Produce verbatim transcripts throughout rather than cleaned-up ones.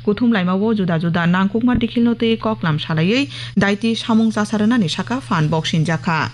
kuthum laimao juda juda nangkukma dikhilno twi koklam salaiwi daiti samung chasa rwnani saka phan boksinjakha.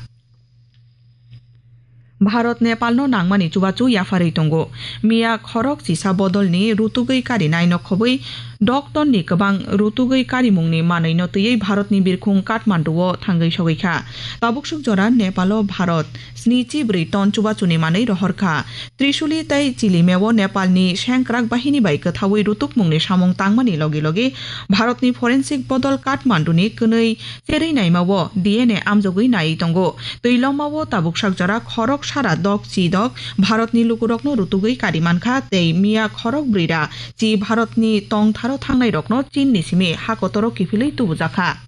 Bharat Nepalno nangmani chubachu yapharwi tongo. Miya khorok chisa bodolni rutugwi karinai nokhobwi dok tonni kwbang rutugwi karimungni manwino twiwi Bharatni birkhung Kathmanduo thangwi sogwi kha. Tabuksuk jora Nepalo Bharat snichi bwrwi ton chubachuni manwi rohor kha. Trishuli tei Chilimeo Nepalni sengkrak bahini bai kwthaui rutukmungni samung tangmani logi logi Bharatni forensic bodol Kathmanduni kwnwi cherwi naimao D N A amjogwi naiwi tongo. Twi lomao tabuksak jora khorok sara dok chi dok Bharatni lukurokno rutugwi kari mankha tei miya khorok brwi ra chi Bharatni tongtharo thangnairokno Chinni simi hakotoro kiphilwi tubujakha.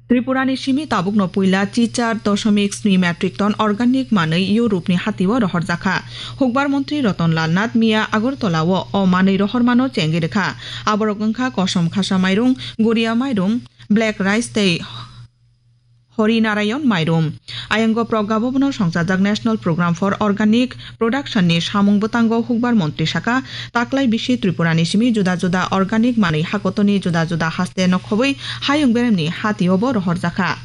Tripurani simi tabukno puila chichar dosomik sni metric ton organic manwi Europe-ni hatio rohorjakha. Hukbar montri Ratan Lal Nath miya Agartala-o o manwi rohormano chengwi rwkha. Aborok wngkha kosom khasa mairum, guria mairum, black rice tei Hari Narayan mairum. Ayango Pragya Bhavan-o songchajak National Program for Organic Production-ni samung bwtango hukbar montri saka, taklai bisi Tripurani simi juda juda organic manwi hakotoni juda juda haste nokhobwi hayung beremni hatiobo rohorjakha.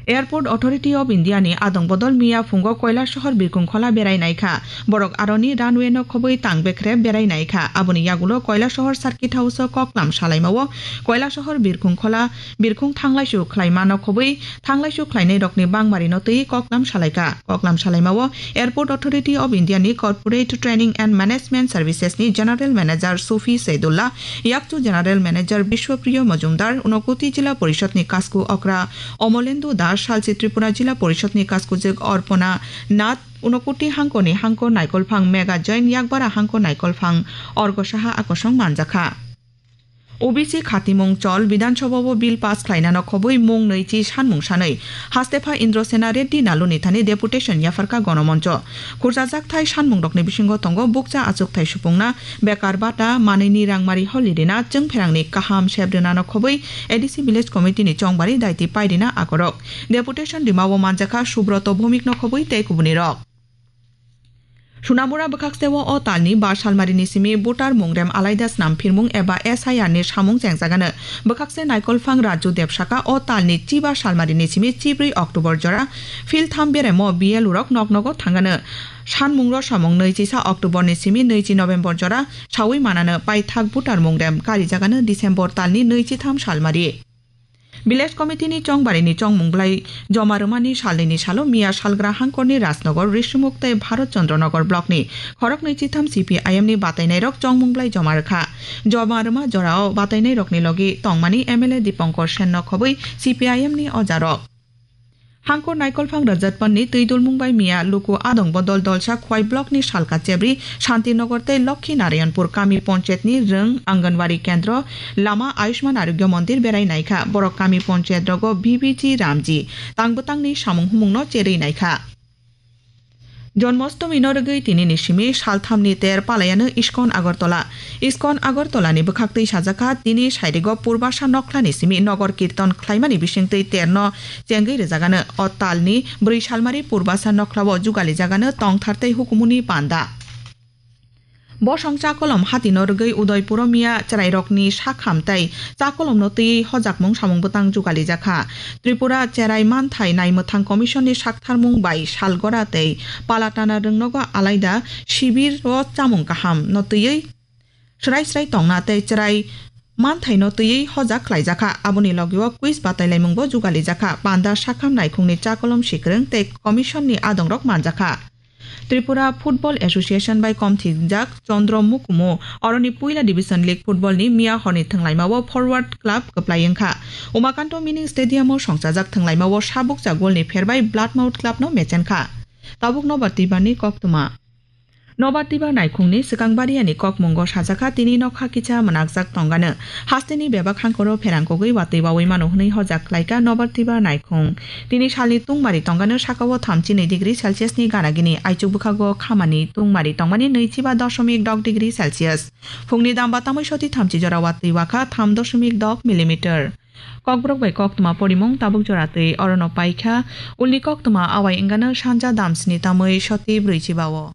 Airport Authority of India-ni adong bodol miya phungo Koilasohor birkhung khola berai naikha. Borok aroni runway-no khobwi tang bekhre berai naikha. Aboni yagulo Koilasohor Circuit House-o koklam salaimao Koilasohor birkhung khola birkhung thanglaisu khlaimano khobwi thanglaisu khlainairokni bangmarino twi koklam salaikha. Koklam salaimao Airport Authority of India-ni Corporate Training and Management Services-ni General Manager Sufi Saidullah, Yakchu General Manager Bishwapriya Majumdar, Unakoti Jila Porishod-ni Kasku Okra Omolendu Das, Salchi Tripura Jila Porishod-ni Kaskujwk Orpona Nath, Unakoti hangkoni hangko naikolphang Mega Jain, Yakbara hangko naikolphang Orgo Saha akosong manjakha. O B C khatimung chol Bidhan Sabha-o bill pass khlainano khobwi mung nwichi sanmung sanwi hastepha Indrasena Reddy Naluni thani deputation yapharkha Gonomoncho. Khurchajak thai sanmungrokni bisingo tongo bukcha achukthai supungna, bekar bata, manwini rangmari holi rina, chwngpherangni kaham sep rwnano khobwi A D C Village Committee-ni chongbari daiti pairina akorok. Deputation rimao manjakha Subroto Bhowmik-no khobwi tei kubunirok. Sunamura bwkhakseo o talni ba salmarini simi voter mungrem alaida snam phirmung eba S I R ni samung chengjagano. Bwkhakse naikolphang Raju Deb saka o talni chiba salmarini simi chibrwi October jora philtham beremo B L O rok noknogo thangano. Sanmungro samung nwichisa October ni simi nwichi November jora sawi manano paithak voter mungrem karijagano December talni nwichitham salmari. Village Committee ni chongbarini chongmung blai joma rwmani salnini salo miya salgra hangkorni Rajnagar, Risumuk tei Bharat Chandra Nagar block ni khoroknwi chitham C P I M ni batainairok chongmung blai joma rwkha. Joma rwma jorao batainairokni logi tongmani M L A Dipankar Sen no khobwi C P I M ni ojarok. Hangkor naikolphang Rajatpanni twi dulmung bai miya luku adong bodol dolsa Khwai block ni salka chebri Shantinagar tei Lokhi Narayanpur kami ponchayat ni rwng Anganwadi kendro lama Ayushman Arogya Mondir berai naikha. Borok kami ponchayat rogo B B G Ramji tang bwtangni samung humung no cherwi naikha. Jonmostami no rwgwi tini ni simi saltham ni ter palayano Iskon Agartala. Iskon Agartala ni bwkhaktwi sajakha tini sairigo Purbasa Nokhla ni simi Nogor Kirton khlaimani bisingtwi ter no chengwi rwjagano. O tal ni bwrwi salmari Purbasa Nokhla o jugali jagano tongthar tei hukumu ni panda. Bosong chakolom hati no rwgwi Udaipuro miya chwrairokni sakham tei chakolomno twiwi hojakmung samung bwtang jugalijak kha. Tripura Cherai Manthai Naimwthang Commission ni saktharmung bai Salgora tei Palatana rwngnogo alaida sibir o chamung kaham no twiwi srai srai tongna tei chwrai manthaino twiwi hojak khlaijakha. Aboni logio quiz batailaimungbo jugalijakha. Panda sakham naikhungni chakolom sikrwng tei commission ni adongrok manjakha. Tripura Football Association bai komthijak Chandra Mukumu oroni puila Division League football ni miya horni thwnglaimao Forward Club kwplai wngkha. Umakanto Mini Stadium o songchajak thwnglaimao sabukcha golni pherbai Bloodmouth Club no mechenkha. Tabuk nobar twibarni koktwma. Nobar twibar naikhungni swkang bariani kokmungo sajakha tini nokha kisa mwnakjak tongano. Hasteni bebak hangkoro pherangkogwi watwi bawi mano hwnwi hojak khlaikha nobar twibar naikhung. Tini salni tungmari tongano sakao thamchi nwi degree Celsius ni ganagini, aichuk bwkhago khamani tungmari tongmani nwichiba dosomik dok degree Celsius. Phungni damba tamoi soti thamchi jora watwi wakha tham dosomik dok millimeter. Kokborok bai koktwma porimung tabuk jora twi orono paikha. Ulni koktwma awai wngano sanja damsni tamoi soti brwichiba o.